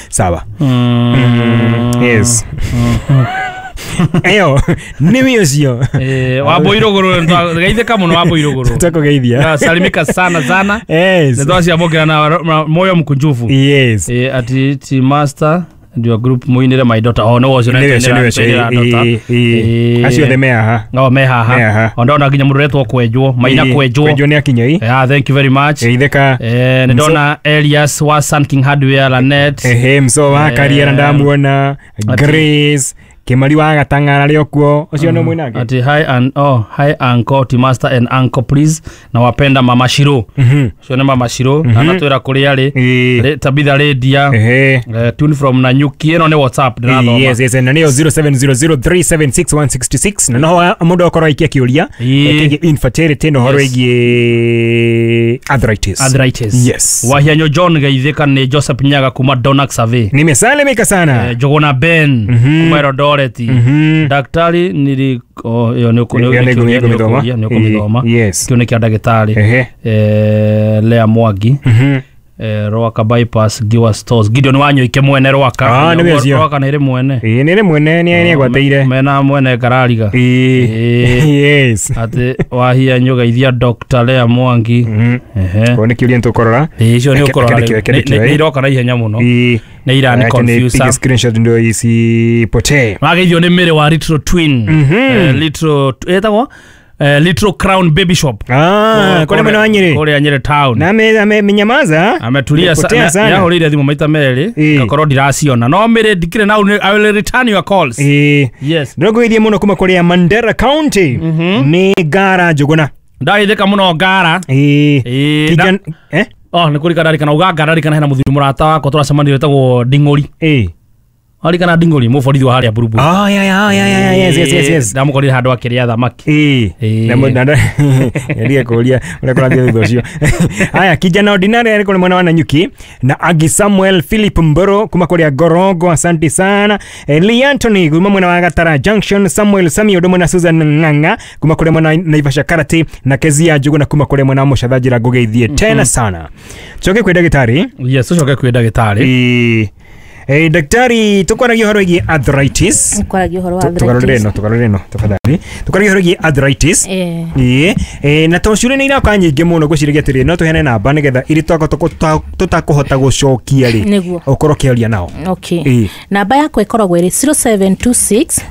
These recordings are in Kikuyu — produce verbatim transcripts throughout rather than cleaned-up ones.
Sawa. Mm, yes. Eyo nĩ ũcio. Eh, wambo iruguru geithĩka mũno, wambo iruguru. Tũkũgeithia. Salimika sana sana. Yes. Nĩ twaciamũkĩra na na moyo mkunjufu. Yes. Eh, ati ti master and your group muinire my daughter. Oh, no, ũcio. Nĩ ũcio, nĩ ũcio. Ĩ, ĩ, ĩ. Acio othe me haha. No me Me haha. haha. O ndona nginya mũndũ ũretwo kwenjwo maina. Ĩ, Kwenjwo. Kwenjwo nĩ akinya ĩ. Yeah, thank you very much. Geithĩka. Eh, nĩ ndona Elias wa Sun King Hardware Lanet. Ehe, mso wa Eh, Kariera ndamuona. Grace Kimari wa Gatang'ara arĩ o kuo, ũcio nĩ mwinake. Ati hi and oh, hi uncle ti master and uncle, please, na wapenda mama Shiro. Mhm. Ũcio nĩ mama Shiro na natwĩra kũrĩa arĩ. Ĩ. Rĩ- Tabitha Lydia. Ehe. Eh, tune from Nanyuki. Ĩno nĩ WhatsApp ndĩrathoma. Yes, yes, na nĩyo zero seven zero zero three seven six one six six, na noho mũndũ akorwo aikia kĩũria Ĩ. kĩgiĩ infertility na ũhoro Yes. wĩgiĩ arthritis. Arthritis. Yes. Wahianyo John, geithĩka. Nĩ Joseph Nyaga kuma Donax Survey. Nimesalimika sana. Eh, Njuguna Ben kuma Eldoret. Mhm. Daktari nili oh, ĩyo nĩ ũkũ- Ĩyo nĩ nĩ nĩ nĩ ngũmĩthoma. ũkũria, nĩ ũkũmĩthoma. Ĩ, yes. Kĩu nĩ kĩa ndagĩtarĩ. Ehe. Eh, Lea Mwangi. Mhm. Eh, Rwaka bypass Giwa Stores, Gideon Wanyoike mwene Rwaka. Ah, nĩwe ũcio. Rwaka nĩ ĩrĩ mwene. Ĩ, nĩ rĩ mwene nĩ nĩ agwatĩire. Mena mwene ngarariga. Ĩ. Ĩ. Yes. Atĩ wahianyo geithia Dr Lea Mwangi. Mhm. Ehe. Ko nĩ kĩũria nĩtũkũrora. Ĩ, icio nĩ Reke- ũkũrora. reke Rĩu. reke Nĩ- ndĩkĩoe. nĩ iroka na ihenya mũno. Ĩ. Nĩ irani Reke nipige confuse. screenshot ndio isipotee. Mageithio nĩ Mĩrĩ wa Little Twin. Mhm. Eh, Little ĩtagwo eh, Little Crown Baby Shop. Ah, kũrĩa mwena wa Nyĩrĩ. Kũrĩa Nyĩrĩ town. Na ame- amenyamaza. Ametulia. Amepotea sana. Nĩahũrĩire thimũ maita merĩ. Ĩ. Ngakorwo ndiraciona, no Mĩrĩ ndikĩrĩ na I will return your calls. Ĩ. Yes. Ndĩrokũgeithia mũno kuma kũrĩa Mandera County. Nĩ Ngara Njũgũna. Ndageithĩka mũno Ngara. Ĩ. Ĩ, Kijan eh? Oh, nĩ kũrika ndarikana uga Ngara, ndarikana hena mũthuri mũrata wakwa tũracemanirie wĩtagwo Nding'ũri. Ĩ. Warikana Nding'ũri, mũborithi wa harĩa Buruburu? Oh, yeah, yeah, yeah, yeah, yes, yes, yes, yes. Ndamũkorire handũ akĩrĩa thamaki. Ĩ. Ĩ. Na mu- na ndige kũria ũrĩa kũrathiĩ thutha ũcio. Haya, kijana ordinary arĩ kũrĩ mwena wa Nanyuki, na Agi Samuel Philip Mboro kuma kũrĩa Gorongo, asante sana. Eh, Lee Anthony kuma mwena wa Gatara Junction, Samuel Sami ũndũ mwena, Susan Ng'ang'a kuma kũrĩa mwena wa Naivasha Karati, na Kezia Njuguna kuma kũrĩa mwena wa Mũcatha njĩra ngũgeithie tena sana. Coke kwĩ ndagĩtarĩ. Yes, ũcoke kwĩ ndagĩtarĩ. Ĩ. Eh, daktari, tukwaragia ũhoro wĩgiĩ arthritis. Kwaragia ũhoro wa Tugarũrĩre arthritis. ĩno, tugarũrĩre ĩno tafadhali. Tukwaragia ũhoro wĩgiĩ arthritis. Eh. Ĩĩ, eh, na tondũ ciũria nĩ iraka nyingĩ mũno, ngwĩciragia atĩrĩrĩ, no tũheane namba nĩgetha irĩ tũtakũhota gũcokia rĩ, Nĩguo. ũkorwo ũkĩaria nao. Okay. Ĩĩ. Namba yakwa ĩkoragwo ĩrĩ zero seven two six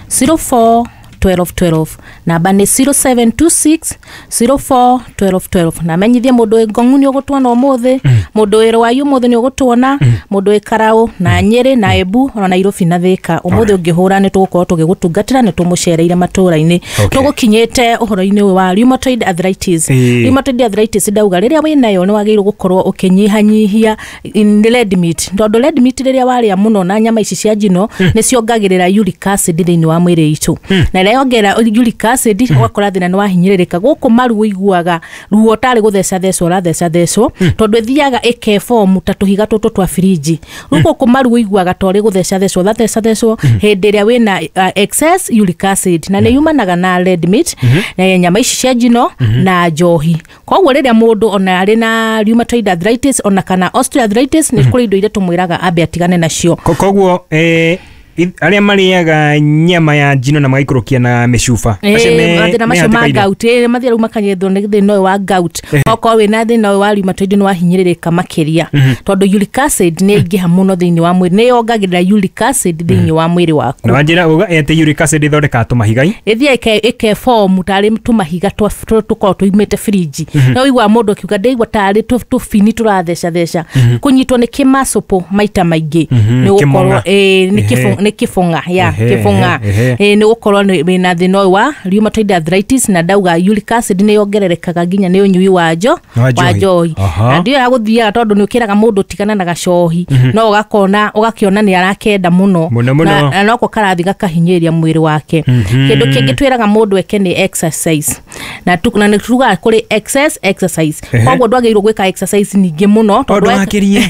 zero four twelve twelve. Namba nĩ zero seven two six zero four twelve twelve. Na menyithie mũndũ wĩ Ngong'u nĩ ũgũtuona ũmũthĩ, mũndũ wĩ Rwaĩ ũmũthĩ nĩ ũgũtuona, mũndũ wĩ Karaũ na Nyĩrĩ na Embu ona Nairobi na Thĩka ũmũthĩ ũngĩhũra nĩ tũgũkorwo tũgĩgũtungatĩra, nĩ tũmũcereire matũũra-inĩ. Okay. Tũgũkinyĩte ũhoro-inĩ ũyũ wa rheumatoid arthritis. Ĩĩ. Rheumatoid arthritis, ndauga rĩrĩa wĩnayo nĩ wagĩrĩirwo gũkorwo ũkĩnyihanyihia in red meat, tondũ red meat rĩrĩa warĩa mũno na nyama ici cia njino nĩ ciongagĩrĩra uric acid thĩinĩ wa mwĩrĩ itũ, na ĩrĩa yongerera uric acid ũgakora thĩna nĩ wahinyĩrĩrĩka gũkũ maru, ũiguaga ruo tarĩ gũtheca thecwo ũratheca thecwo, tondũ ĩthiaga ĩkeform ta tũhiga tũtũ twa firinji. Rĩu gũkũ maru ũiguaga ta ũrĩ gũtheca thecwo ũratheca thecwo hĩndĩ ĩrĩa wĩna uh, excess uric acid, na nĩ yumanaga na red meat na nyama ici cia njino na njohi. Koguo rĩrĩa mũndũ ona arĩ na rheumatoid arthritis ona kana osteoarthritis, nĩ kũrĩ indo iria tũmwĩraga ambe atigane nacio. Ko- koguo eh, i- arĩa marĩaga nyama ya njino na magaikũrũkia na mĩcuba, acio me- mathĩna me macio ma hatĩka-inĩ. gout. Ĩ, mathiĩ rĩu makanyethwo nĩ thĩna ũyũ wa gout. Okorwo wĩna thĩna ũyũ wa rheumatoid nĩ wahinyĩrĩrĩka makĩria, tondũ uric acid nĩ ĩingĩha mũno thĩinĩ wa mwĩrĩ, nĩ yongagĩrĩra uric acid thĩinĩ wa mwĩrĩ waku. Na wanjĩra uga atĩ uric acid ĩthondekaga tũmahigai. Ĩthiaga ĩke- ĩkeform tarĩ tũmahiga twa- tũ- tũkoragwo tũimĩte firinji. No ũiguaga mũndũ akiuga ndaigua tarĩ tũ- tũbini tũratheca theca, kũnyitwo nĩ kĩmacũpũ maita maingĩ nĩ gũkorwo Kĩmong'a. ĩ, nĩ Ehe. kĩbũ- nĩ kĩbũng'a ya Ehe, kĩbũng'a. ehe. Ĩ, nĩ gũkorwo nĩ- wĩna thĩna ũyũ wa rheumatoid arthritis, na ndauga uric acid nĩ yongererekaga nginya nĩ ũnyui wa njo Wa wa njohi. njohi. Aha. Na ndio ya gũthiaga, tondũ nĩ ũkĩraga mũndũ tigana na gacohi, no ũgakona ũgakĩona nĩ arakenda mũno. Mũno, mũno. Na- na noko karathi gakahinyĩrĩria mwĩrĩ wake. Kĩndũ kĩngĩ twĩraga mũndũ eke nĩ exercise. Na tu, na nĩ tugaga kũrĩ excess exercise. Ehe. Koguo ndwagĩrĩirwo gwĩka exercise nyingĩ mũno. Tondũ weka- wakĩrie.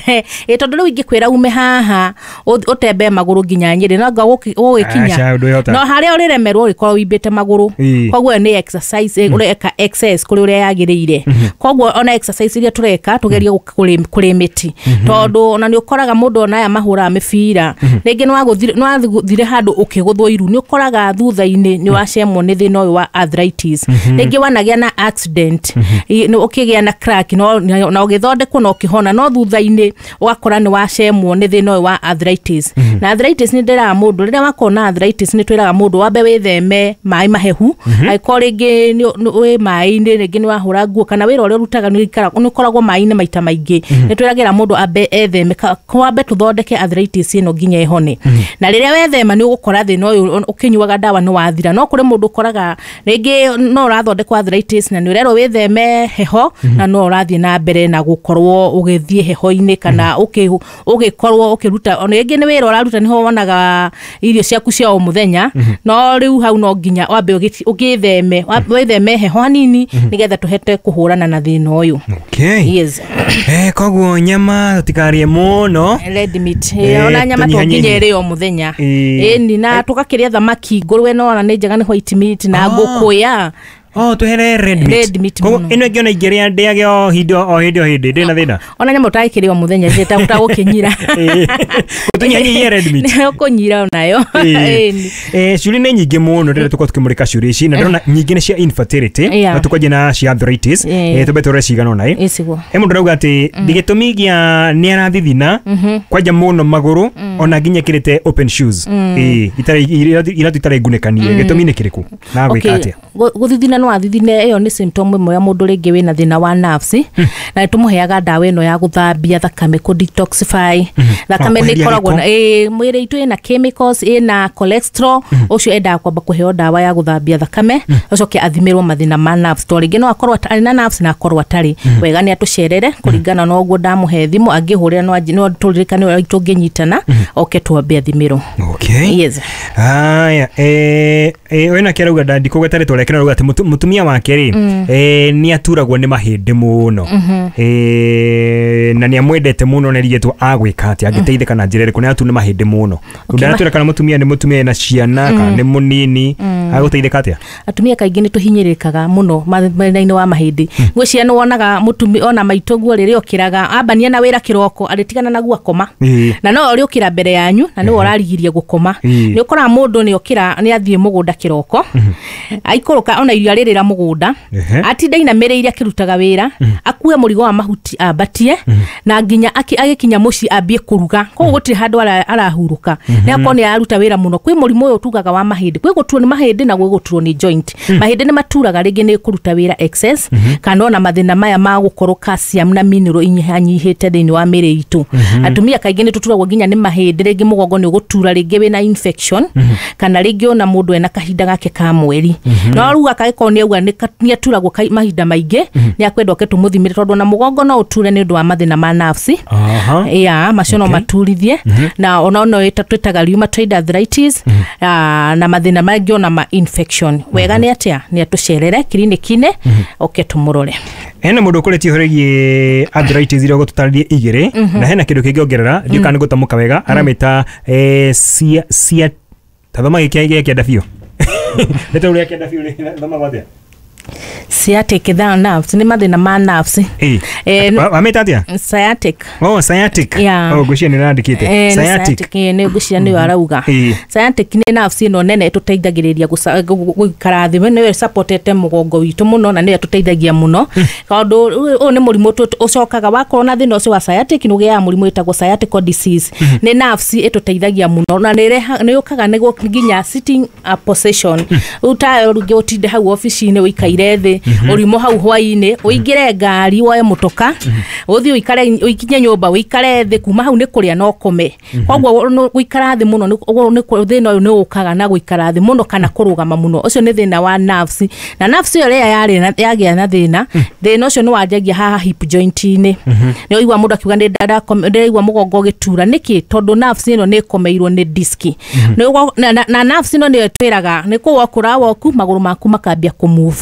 Ĩ, tondũ rĩu ingĩkwĩra ume haha ũth- ũtembee magũrũ nginya Nyĩrĩ, no anga ũgũgĩkinya Aca, ndwĩhota. no harĩa ũrĩremerwo ũrĩkorwo wimbĩte magũrũ. Ĩ. Koguo ĩyo nĩ exercise, eh, ũreka excess kũrĩ ũrĩa yagĩrĩire. Koguo ona exercise iria tũreka tũgerie kũrĩ mĩti, tondũ ona nĩ ũkoraga mũndũ ona aya mahũraga mĩbira rĩngĩ nĩ wathire handũ ũkĩgũthwo iru, nĩ ũkoraga thutha-inĩ nĩ wacemwo nĩ thĩna ũyũ wa arthritis. Rĩngĩ wanagĩa na accident, i- nĩ ũkĩgĩa na crack, no na ũgĩthondekwo na ũkĩhona, no thutha-inĩ ũgakora nĩ wacemwo nĩ thĩna ũyũ wa arthritis. Na arthritis nĩ ndĩraga mũndũ, rĩrĩa wakorwo na arthritis nĩ twĩraga mũndũ wambe wĩtheme maĩ mahehu. Angĩkorwo rĩngĩ nĩ nĩ- wĩ maĩ-inĩ, rĩngĩ nĩ wahũra nguo kana wĩra ũrĩa ũrutaga nĩ ũikara- nĩ ũkoragwo maĩ-inĩ maita maingĩ, nĩ twĩragĩra mũndũ ambe etheme, ka- kwambe tũthondeke arthritis ĩno nginya ĩhone. Na rĩrĩa wethema nĩ ũgũkora thĩna ũyũ ũkĩnyuaga ndawa nĩ wathira. No kũrĩ mũndũ ũkoraga rĩngĩ no ũrathondekwo arthritis na nĩ ũrerwo wĩtheme heho, na no ũrathiĩ na mbere na gũkorwo ũgĩthiĩ heho-inĩ kana ũkĩ- ũgĩkorwo ũkĩruta, ona rĩngĩ nĩ wĩra ũraruta nĩho wonaga irio ciaku cia o mũthenya. No rĩu hau no nginya wambe ũgĩ- ũgĩtheme, wĩtheme heho hanini nĩgetha tũhote kũhũrana na thĩna ũyũ. Okay. Yes. Eh, koguo nyama tũtikarĩe mũno. Red meat. Eh, Eh, ona nyama to nginya tũnyihanyihie. ĩrĩo o mũthenya. Ĩĩ. Ĩni, na tũgakĩrĩa thamaki, ngũrwe no ona nĩ njega, nĩ white meat na Ah. ngũkũ ya Oh, twehere red meat. Red meat Koguo mũno. ĩno ĩngĩ ona ingĩrĩa ndĩage o hĩndĩ o hĩndĩ o hĩndĩ ndĩ na thĩna. Ona nyama ũtagĩkĩrĩa o mũthenya tagũkĩnyira. Tũnyihanyihie red meat. Nĩ ũkũnyira onayo. Ĩĩ. Ĩni. Eh, ciũria nĩ nyingĩ mũno rĩrĩa tũkorwo tũkĩmũrĩka ciũria ici, na ndĩrona nyingĩ nĩ cia infertility, Yeah. na tũkwanjia na cia arthritis. Yeah. Eh, tũmbe tũrore cigana ũna ĩ. Ĩciguo. He mũndũ arauga atĩ gĩtũmi gĩa nĩ arathithina kwanja mũno magũrũ ona nginya ekĩrĩte open shoes. Ĩĩ, itarĩ iratũ iratũ itarĩ ngunĩkanie, gĩtũmi nĩ kĩrĩkũ na gwĩka atĩa? Gũ- gũthithina no athithine, ĩyo nĩ symptom ĩmwe ya mũndũ rĩngĩ wĩna thĩna wa nerves, na nĩ tũmũheaga ndawa ĩno ya gũthambia thakame, kũ detoxify thakame. Ah, Nĩ kweheria ĩkoragwo gĩko. na ĩĩ, mwĩrĩ itũ ĩna chemicals, ĩna cholesterol. Ũcio endaga kwamba kũheo ndawa ya gũthambia thakame, acoke athimĩrwo mathĩna ma nerves, tondũ rĩngĩ no akorwo atarĩ na nerves na akorwo atarĩ wega. Nĩ atũcerere kũringana na ũguo ndamũhe thimũ, angĩhũrĩra no anji- no tũririkane ũrĩa tũngĩnyitana oke twambe athimĩrwo. Okay. Yes. Haya, eh, eh, wena kĩarauga ndikũgweta rĩtwa rĩake, no arauga atĩ mũtu- mũtumia wake rĩ, eh, nĩ aturagwo nĩ mahĩndĩ mũno, eh, na nĩ amwendete mũno, na erigĩtwo agwĩka atĩa, angĩteithĩka na njĩra ĩrĩkũ? Nĩ aturwo nĩ mahĩndĩ mũno. Ndatwĩra kana mũtumia nĩ mũtumia ena ciana kana nĩ mũnini, agũteithĩka atĩa? Atumia kaingĩ nĩ tũhinyĩrĩkaga mũno ma- mwena-inĩ wa mahĩndĩ. Ngwĩciria nĩ wonaga mũtumi ona maitũ guo rĩrĩa okĩraga ambania na wĩra kĩroko arĩtigana naguo akoma, Ĩĩ. na no ũrĩũkĩra mbere yanyu na nĩwe ũrarigiria gũkoma. Ĩĩ. Nĩ ũkoraga mũndũ nĩ okĩra nĩ athiĩ mũgũnda kĩroko, aikũrũka ona irio arĩrĩra mũgũnda, Ehe. atinda inamĩrĩire akĩrutaga wĩra, akue mũrigo wa mahuti ambatie, na nginya aki- agĩkinya mũciĩ ambie kũruga. Koguo gũtirĩ handũ ara- arahurũka, nĩ akorwo nĩ araruta wĩra mũno. Kwĩ mũrimũ ũyũ tugaga wa mahĩndĩ, kwĩ gũturwo nĩ mahĩndĩ na gwĩ gũturwo nĩ joint. Mahĩndĩ nĩ maturaga rĩngĩ nĩ kũruta wĩra excess, kana ona mathĩna maya ma gũkorwo calcium na mineral inyihanyihĩte thĩinĩ wa mĩrĩ itũ. Atumia kaingĩ nĩ tũturagwo nginya nĩ mahĩndĩ, rĩngĩ mũgongo nĩ ũgũtura, rĩngĩ wĩna infection, kana rĩngĩ ona mũndũ ena kahinda gake ka mweri, no rĩu akagĩkorwo nĩ auga nĩ ka- nĩ aturagwo kai- mahinda maingĩ, nĩ akwenda oke tũmũthimĩre, tondũ ona mũgongo no ũture nĩ ũndũ wa mathĩna ma nerves. Aha. Ya macio no Okay. maturithie, na ona no ĩta- twĩtaga rheumatoid arthritis, ah, na mathĩna mangĩ ona ma infection. Wega nĩ atĩa nĩ atũcerere kiriniki-inĩ oke tũmũrore. Hena mũndũ ũkũrĩtie ũhoro wĩgiĩ arthritis iria ũgũtũtarĩrie igĩrĩ, na hena kĩndũ kĩngĩ ongerera, ndiũ kana nĩ gũtamũka wega, aramĩta eh, cia cia tathoma gĩkĩ gĩa kĩanda biũ, nĩta ũrĩa kĩanda biũ rĩ, thoma atĩa? Sciatic tha nerves nĩ mathĩna ma nerves. Ĩĩ. Eh, Wa- wamĩta atĩa? Sciatic. Oh, sciatic. Yeah. Oh, ngwĩciria nĩ ũrandĩkĩte. Eh, nĩ Sciatic. sciatic, eh, nĩ ngwĩciria nĩyo arauga. Ĩĩ. Sciatic nĩ nerves ĩno nene ĩtũteithagĩrĩria gũca- gu- gu- gũikara thĩ, nĩyo ĩsupportete mũgongo witũ mũno na nĩyo ĩtũteithagia mũno, tondũ ũyũ nĩ mũrimũ tũ- ũcokaga wakorwo na thĩna ũcio wa sciatic nĩ ũgĩaga mũrimũ wĩtagwo sciatic disease. Nĩ nerves ĩtũteithagia mũno na nĩ ĩreha- nĩ yũkaga nĩguo nginya sitting uh, position. Rĩu tayo rĩngĩ ũtinde hau obici-inĩ ũikaire thĩ ũrimũ hau, hwainĩ ũingĩre ngari woe mũtoka ũthiĩ ũikare, ũikinye nyũmba ũikare thĩ, kuma hau nĩ kũrĩa na ũkome. Koguo nũ- gũikara thĩ mũno nĩ- ũguo nĩ kũ- thĩna ũyũ nĩ ũkaga na gũikara thĩ mũno kana kũrũgama mũno. Ũcio nĩ thĩna wa nerves, na nerves ĩyo rĩrĩa yarĩ na- yagĩa na thĩna, thĩna ũcio nĩ wanjagia haha hip joint-inĩ. Nĩ ũigua mũndũ akiuga nĩ ndakome- ndĩraigua mũgongo ũgĩtura nĩkĩ? Tondũ nerves ĩno nĩ ĩkomeirwo nĩ disk. Nĩ ũgwa- na, na, na nerves ĩno nĩyo ĩtwĩraga nĩ kũ wokũra woku magũrũ maku makambia kũ move.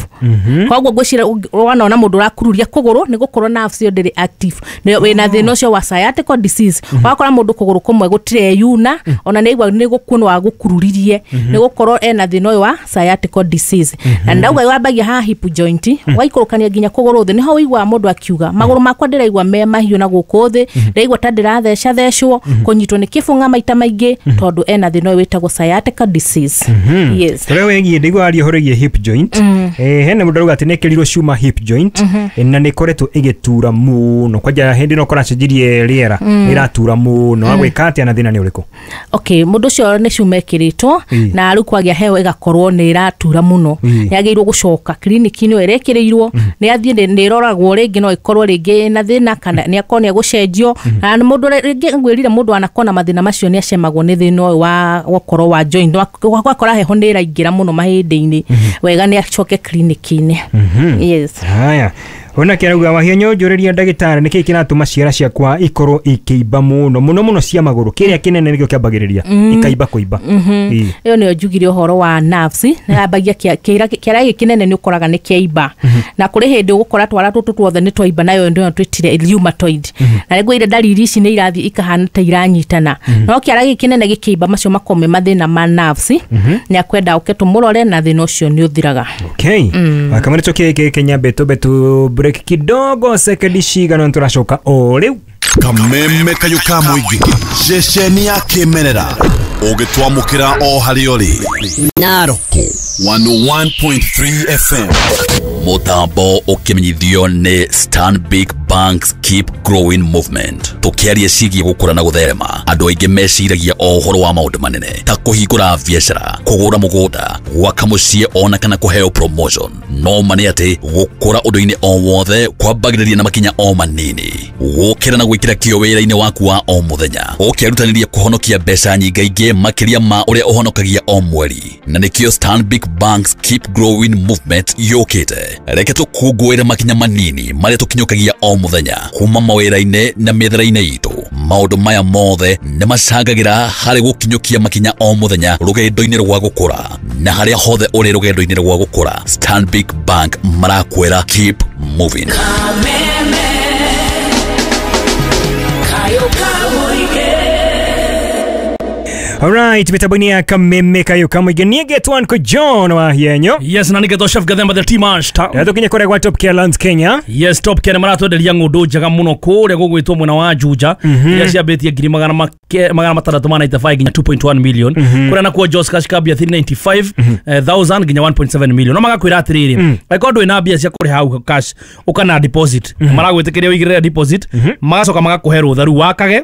Koguo ngwĩciria wanaona mũndũ ũrakururia kũgũrũ nĩ gũkorwo nerves ĩyo ndĩrĩ active, nĩ wĩna thĩna ũcio wa sciatica disease. Wakora mũndũ kũgũrũ kũmwe gũtireyuna, ona nĩ aigua nĩ gũkuonwo agũkururirie, nĩ gũkorwo ena thĩna ũyũ wa sciatica disease. Na ndauga wambagia haha hip joint, waikũrũkania nginya kũgũrũ thĩ, nĩho ũiguaga mũndũ akiuga magũrũ makwa ndĩraigua me mahiũ na gũkũ thĩ, ndĩraigua ta ndĩratheca thecwo, kũnyitwo nĩ kĩbũng'a maita maingĩ, tondũ ena thĩna ũyũ wĩtagwo sciatica disease. Yes. Tũrĩa wĩgiĩ ndaigua aria ũhoro wĩgiĩ hip joint, eh, hena mũndũ arauga atĩ nĩ ekĩrirwo cuma hip joint, eh, na nĩ ĩkoretwo ĩgĩtura mũno, kwanja hĩndĩ ĩno kũracenjirie rĩera nĩ ĩratura mũno, agwĩka atĩa na thĩna nĩ ũrĩkũ? Okay, mũndũ ũcio nĩ cuma ĩkĩrĩtwo Ĩĩ. na rĩu kwagĩa heho ĩgakorwo nĩ ĩratura mũno, Ĩĩ. nĩ agĩrĩirwo gũcoka kiriniki-inĩ ĩyo ĩrekĩrĩirwo, nĩ athiĩ nĩ nĩ ĩroragwo rĩngĩ no ĩkorwo rĩngĩ na thĩna kana nĩ akorwo nĩ egũcenjio. Na nĩ mũndũ rĩngĩ ngwĩrire mũndũ anakorwo na mathĩna macio nĩ acemagwo nĩ thĩna ũyũ wa gũkorwo wa joint, wakora heho nĩ ĩraingĩra mũno mahĩndĩ-inĩ, wega nĩ acoke kiriniki-inĩ. Yes. Haya, ona kĩarauga Wahianyũ, njũrĩria ndagĩtarĩ nĩkĩĩ kĩratũma ciara ciakwa ikorwo ikĩimba mũno mũno mũno cia magũrũ, kĩrĩa kĩnene nĩkĩo kĩambagĩrĩria ikaimba kũimba. Ĩĩ. Ĩyo nĩyo njugire ũhoro wa nerves, yambagia kĩara kĩara gĩkĩ kĩnene nĩ ũkoraga nĩ kĩaimba, na kũrĩ hĩndĩ ũgũkora twara tũtũ tuothe nĩ twaimba, nayo nĩyo twĩtire rheumatoid. Na nĩguo ire ndariri ici nĩ irathiĩ ikahana ta iranyitana, no kĩara gĩkĩ kĩnene gĩkĩimba macio makorwo me mathĩna ma nerves, nĩ akwenda ũke tũmũrore na thĩna ũcio nĩ ũthiraga. Okay, kamwe tũkĩ Kenya betu betu break kidogo sekendi cigana tũracoka o rĩu. Kameme kayũ ka mũingĩ, ceceni ya kĩmerera ũgĩtwamũkĩra o harĩa ũrĩ. Narok one oh one point three F M. Mũtambo ũkĩmenyithio nĩ Stanbic Bank's Keep Growing Movement. Tũkĩaria ciĩgiĩ gũkũra na gũtherema, andũ aingĩ meciragia o ũhoro wa maũndũ manene ta kũhingũra biacara, kũgũra mũgũnda, gwaka mũciĩ ona kana kũheo promotion. No ma nĩ atĩ gũkũra ũndũ-inĩ o wothe kwambagĩrĩria na makinya o manini. Gũkĩra na gwĩkĩra kĩyo wĩra-inĩ waku wa o mũthenya, ũkĩrutanĩria kũhonokia mbeca nyingaingĩ makĩria ma ũrĩa ũhonokagia o mweri. Na nĩkĩo Stanbic Bank's Keep Growing Movement yũkĩte. Reke tũkũngũĩre makinya manini marĩa tũkinyũkagia o mũthenya kuma mawĩra-inĩ na mĩethere-inĩ itũ. Maũndũ maya mothe nĩ macangagĩra harĩ gũkinyũkia makinya o mũthenya rũgendo-inĩ rwa gũkũra. Na harĩa hothe ũrĩ rũgendo-inĩ rwa gũkũra, Stanbic Bank marakwĩra keep moving. Alright, mitambo-inĩ ya Kameme kayũ kamũingĩ niĩ ngetwo Uncle John Wahianyũ. Yes, na nĩgetwo Chef Gathemba the Tea Master. Na tũkinye kũrĩa gwa Top Care Lands Kenya. Yes, Top Care maratwenderia ng'ũndũ njega mũno kũrĩa gũgwĩtwo mwena wa Juja, iria ciambĩtie ngiri magana magana matandatũ ma ninety-five nginya two point one million. Kũrĩa nakuo Jos Cash kambia three ninety-five thousand nginya one point seven million. No magakwĩra atĩrĩrĩ, angĩkorwo ndũrĩ na mbia cia kũrĩha hau cash, ũka na deposit, maragwĩtĩkĩria ũigĩrĩre deposit, magacoka magakũhe rũtha rĩu wakage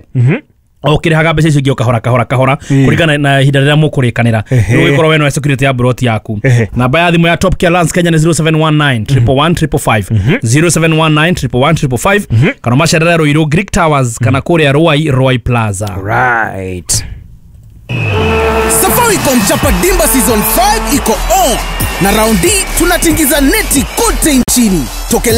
o kĩrĩhaga mbeca icio ingĩ o kahora kahora kahora kũringana na ihinda rĩrĩa mũkũrĩkanĩra. Rĩu ũgĩkorwo we no security ya broti yaku. Namba ya thimũ ya Top Care Lands Kenya nĩ zero seven one nine triple one triple five, zero seven one nine triple one triple five, kana macerere Ruiru Greek Towers kana kũrĩa Ruai Ruai Plaza. Right. Safaricom Chapa Dimba Season five iko on, na round D tunatingiza neti kote nchini. Toke